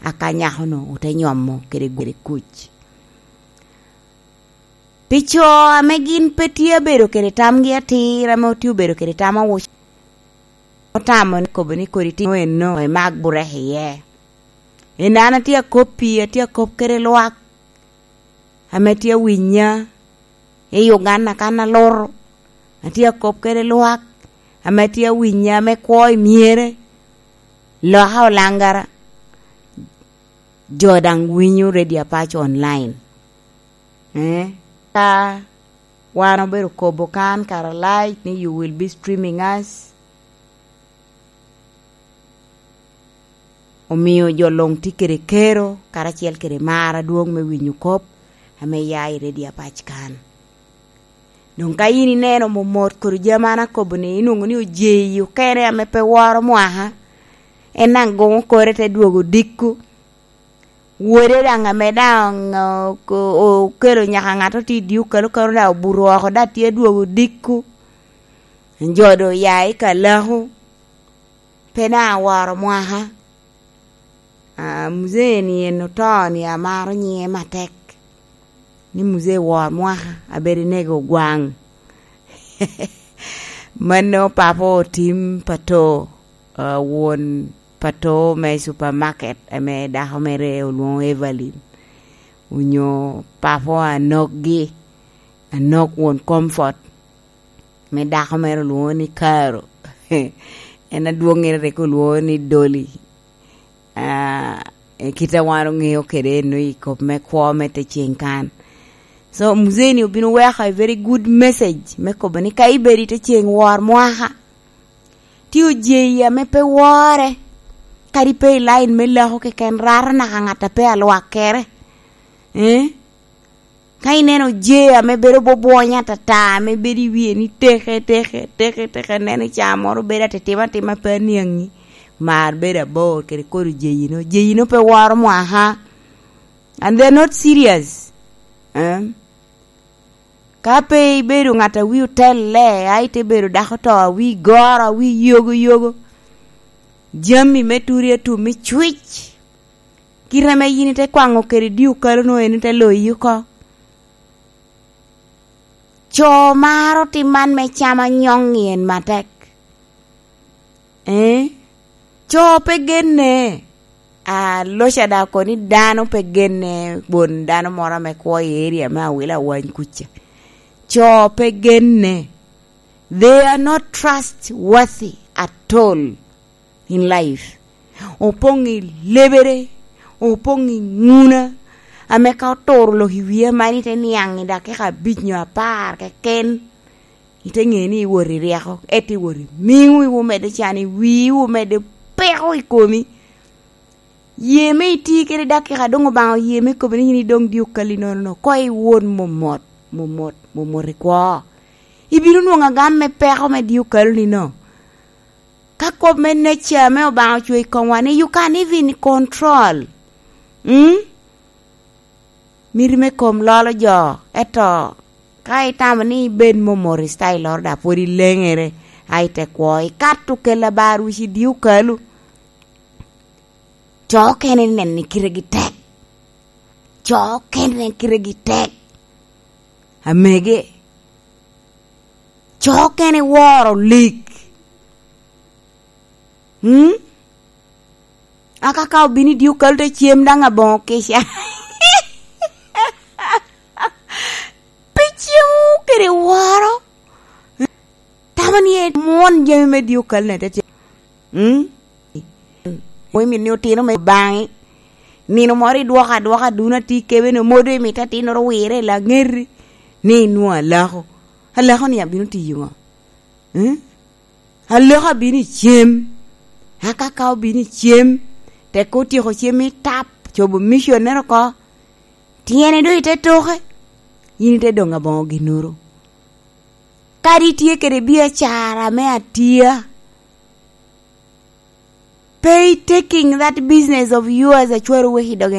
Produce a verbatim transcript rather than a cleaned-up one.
aka nyako-nu ote nyomo kede gwede kuc. Pi co ame gin pe tye abedo kede tamgi atir ame otye obedo kede tam awuc, otamo ni kobo ni kodi timo eno, imak burek iye. En an atye akop pi, atye akop kede lwak ame tye awinya i Uganda kan aluto. Atye akop kede lwak ame tye awinya ame kwo i myere. Loka olangara, jo daŋ winyo Radio Apac online. Eh, ka wan obedo kobo kan kara live ni you will be streaming us. Omio jo luŋ tye kede kero karacel kede mar adwoŋ me winyo kop ame ya i Radio Apac kan. Doŋ ka yin ineno momot kodi jami an akobo ni, inwoŋo ni ojeyi okene ame pe woro mwaka, en daŋ goŋo kore te dwogo dikku. Wode daŋ ame daŋ, o-, ko-, okelo nyaka ŋat oti i dye okalo kano daŋ obuto oko, daŋ tye dwogo dikku. Jo doŋ oya i kalaku, pe daŋ aworo mwaka. Ah, muzee-ni en oto-ni amaro nyiŋe matek, ni muzee wor mwaka, abedo inego gwaŋ. Mano papa otim pato, ah, won pato me supermarket, ame dako mere olwoŋo Evelyn, onyo papa anokgi, anok won Comfort, me dako mere olwoŋo ni Karo. En adwoŋŋere rik olwoŋo ni Dolly. Ah, e kit a wan oŋeo kede eno i kop me kwo me te ceŋ kan. So, muzee-ni obin oweko a very good message me kobo ni ka ibedo i te ceŋ wor mwaka, ti ojeyi ame pe wore, kadi pe i line me lako keken, rato naka ŋat a pe alwakkere. Eh? Ka ineno je ame bedo bwobwonya atata, ame bedo i wie ni teke, teke, teke, teke, neno i ca moro bedo atitimo atima pe aniaŋi, mar bedo abor kede kodi jeyino. Jeyino pe woro mwaka. And they're not serious. Eh? Ka pe ibedo ŋat a wi otelle, a ite bedo dako to, a wi goro, a wi yogo yogo, jami me turi atum i cwic, kite ame yin ite kwaŋo kede dye okalo-nu en ite loyi oko. Co maro tim man me cam anyoŋ i en matek. Eh? Co pe genne. Aloca daŋ oko ni dano pe genne won dano moro ame kwo i area me Awila Awany kuca. Co pe genne. They are not trustworthy at all in life. Opoŋ i lebere, opoŋ i ŋuna, ame ka oturo lok i wie man ite niaŋ i dakika abic nyo apar keken, ite ŋe ni iwot i ryeko, ento iwot i miŋo, iwu medde can i wii, iwu medde peko i komi. Ye me iti kede dakika doŋ Obaŋa oye me kobo ni yin idoŋ dye okali nono, koŋ iwot momot, momot, momot i kwo. Ibino nwoŋo agam me peko me dye okalo-ni no. Ka kop me nature ame Obaŋa ocweyo i komwa ni you can even control. Mm? Miti me kom lolo jo, ento ka itamo ni ibed momot i style-loro, dok pwod ileŋere, a ite kwo, ikato kela bar wic i dye okalo. Co okene nen ni kitegi tek. Co okene nen kitegi tek. Amege. Co okene woro lik. Hmm? Aka ka obino i dye okalo te cem daŋ aboŋo kica. Pe cemo kede woro. Tamo ni en mwon jami me dye okalo-ni te cem. Mm? Mo imit ni otino me baŋi. Nino moro idwoko adwoka dun ati kebe ni omodo imit atinnoro wire i laŋeti. Ni inwoŋo alako. Alako-ni abino tiyo ŋo? Mm? Aloko abino i cem. Aka ka obino i cem, tek otyeko cem i tap, cobo missionere oko. Tyene doŋ ite toke, yin ite doŋ aboŋo ginnoro. Kadi itye kede biacara me atia, pe i taking that business of yours, acwero wek i doge